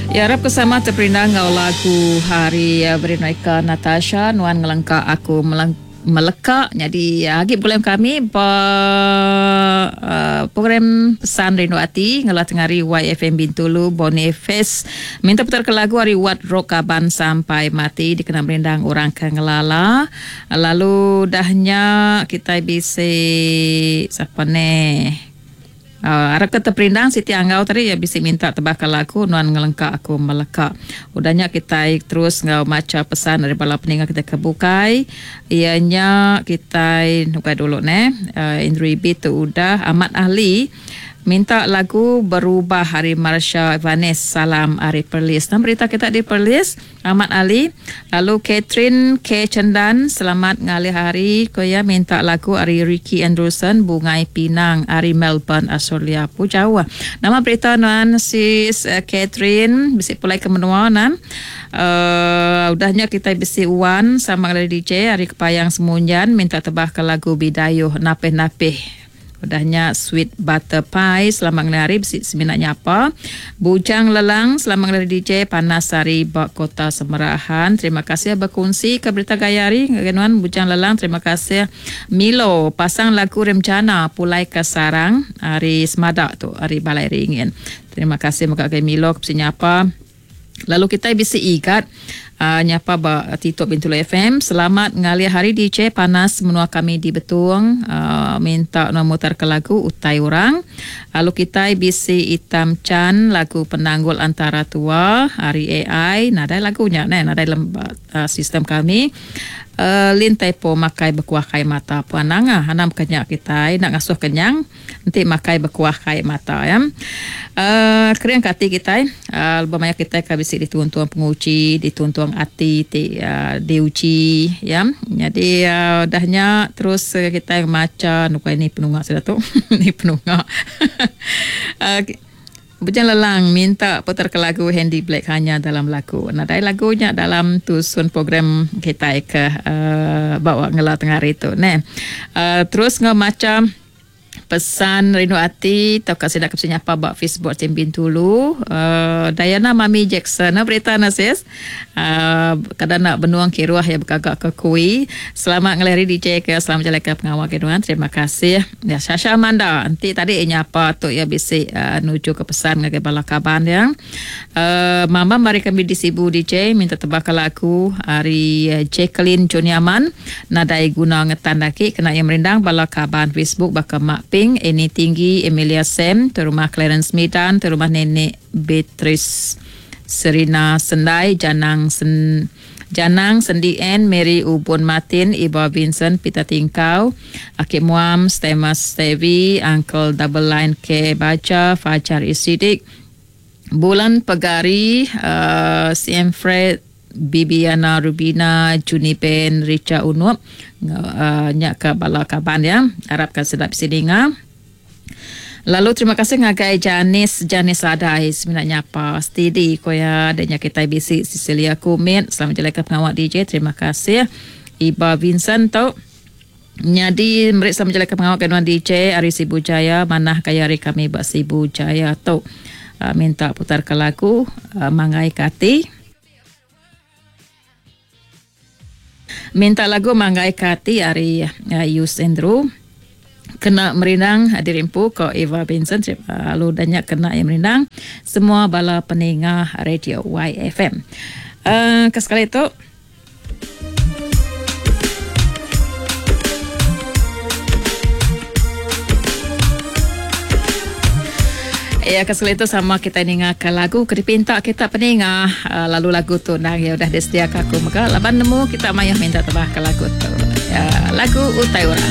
Ya arap ke sama teperindang enggau lagu hari Veronica Natasha nuan ngelengka aku meleka nyadi agi begulai enggau kami ba program pesan rindu ati ngela tengari YFM Bintulu Boniface minta putar ke lagu ari Wat Rock Kaban Sampai Mati dikena merindang orang ke ngelala lalu dah nya kitai bisi sapa neh. Arap ke teperindang siti anggau tadi iya bisi minta tebaka lagu nuan ngelengka aku meleka. Udah nya kitai terus enggau macha pesan ari bala peninga kitai ke bukai iya nya kitai nukai dulu neh Indri B tu udah amat ahli minta lagu berubah ari Marsha Vanes salam ari Perlis. Nama berita kita di Perlis? Ahmad Ali, lalu Catherine K Chendan selamat ngalih hari ku iya minta lagu ari Ricky Andrewson Bungai Pinang ari Melbourne Australia. Pu jauh. Nama berita nuan sis Catherine bisi pulai ke menua nan. Uhh udah nya kitai bisi Wan sama ngalih DJ ari Kepayang Semunjan minta tebah ke lagu Bidayuh Napih Napih. Udah nya Sweet Butter Pie selamat ngelih hari bisi semina nyapa. Bujang Lelang selamat ngelih hari DJ panas hari ba Kota Semerahan. Terima kasih bekunsi ke berita gaya hari ngagai nuan Bujang Lelang. Terima kasih Milo pasang lagu Remjana pulai ke Sarang ari Semada tu ari Balai Ringin. Terima kasih mega ngagai Milo ke bisi nyapa. Lalu kitai bisi igat nyapa ba Tito Bintulu FM. Selamat ngalih hari DJ panas menua kami di Betong minta nuan mutar ke lagu Utai Orang. Lalu kitai bisi Itam Chan lagu Penanggul Antara Tua ari AI nadai lagu nya neh nadai sistem kami. Lin Taipo makai bekuah kai mata puan nangah anang baka nya kitai enda ngasuh kenyang. Enti makai bekuah kai mata ya. Uhh kering ke ati kitai uhh lebuh maya kitai ke bisi dituntung penguji, dituntung ati ti uhh diuji ya. Nyadi uhh udah nya terus kitai macha nukai ni penunga sida tu ni penunga uhh Bujang Lelang minta putar ke lagu Handy Black hanya dalam lagu. Nadai lagu nya dalam tusun program kitai ke uhh ba ngela tengah hari tu neh. Uhh terus enggau macha pesan rindu ati tauka sida ke bisi nyapa ba Facebook Team Bintulu uhh Diana Mami Jackson. Nama berita ne sis? Uhh kada enda benung kiruh iya begaga ke kui. Selamat ngalih hari DJ ke selamat bejalaika pengawa ke nuan. Terima kasih. Ya Shasha Amanda enti tadi nyapa tu iya bisi uhh nuju ke pesan ngagai bala kaban iya. Uhh mama mari kami di Sibu DJ minta tebaka lagu ari Jacqueline Johnny Aman nadai guna ngetan agi kena iya merindang bala kaban Facebook baka Mak Ping, Annie Tinggi, Emilia Sam, Terumah Clarence Midan, Terumah Nenek Beatrice Serina Sendai, Janang Sen Janang Sendi Ann, Mary Ubun Martin, Iba Vincent, Peter Tingkau, Aki Muam, Stemas Stevie, Uncle Double Line K Baja, Fajar Isidik, Bulan Pegari, uh, CM Fred, Bibiana Rubina, Juni Ben, Richa Unup, uh, nya ke bala kaban ya. Arap ka sedap bisi ninga. Lalu terima kasih ngagai Janis Janis Adai semina nyapa steady ko iya dek nya kitai bisi Cecilia Kumit selamat bejalaika pengawa DJ terima kasih Iba Vincent tu nyadi meri selamat bejalaika pengawa ke nuan DJ ari Sibu Jaya manah gaya ari kami ba Sibu Jaya tu uh, minta putar ke lagu uh, Manggai ke Ati. Minta lagu Manggai Ke Ati ari Yus Andrew. Kena merindang diri empu ko Eva Vincent lalu udah nya kena iya merindang semua bala peninga radio YFM. Uh, ke sekali tu Ya ke sekali tu sama kita ninga ke lagu ke dipinta kita peninga uh, lalu lagu tu ndang ya udah disediaka aku mega laban nemu kita mayuh minta tebah ke lagu tu. Ya, lagu utai orang.